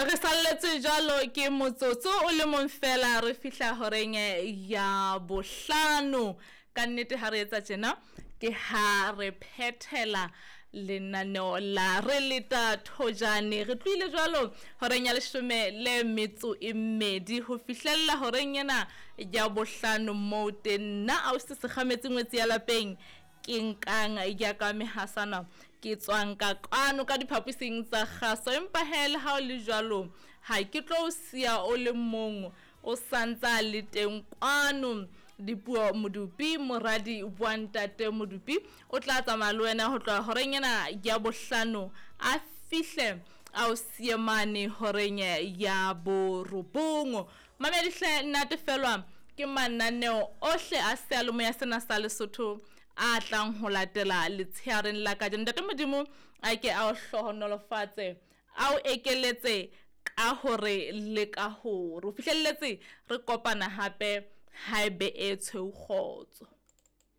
Re salletswe jwalo ke motsotso o le mong fela re fihla horeng ya bohlano. Ka nnete ha re etsa tjena ke ha re phethela lenaneo la re leta thojane. Re tlohile jwalo horeng ya leshome le metso e mmedi ho fihlella horeng ena ya bohlano moo teng nna ausi Sekgametse ngwetsi ya lapeng ke nkang ya ka mehasana ke tswang ka kwano ka diphaposing tsa kgaso. Empa hee le ha o le jwalo ha ke tlo o siya o le mong o santsa le teng kwano. Dipuo Modupi moradi wa ntate Modupi o tla tsamaya le wena ho tloha horeng ena ya bohlano a fihle a o siye mane horeng ya borobong. Mamedihle natefelwa ke mananeo ohle a seyalemoya sena sa Lesotho a tlang ho latela letsheareng la kajeno. Ntate Modimo a ke a o hlohonolofatse, a o ekeletse ka hore le ka hore. O fihlelletse re kopana hape haebe e tshweu kgotso.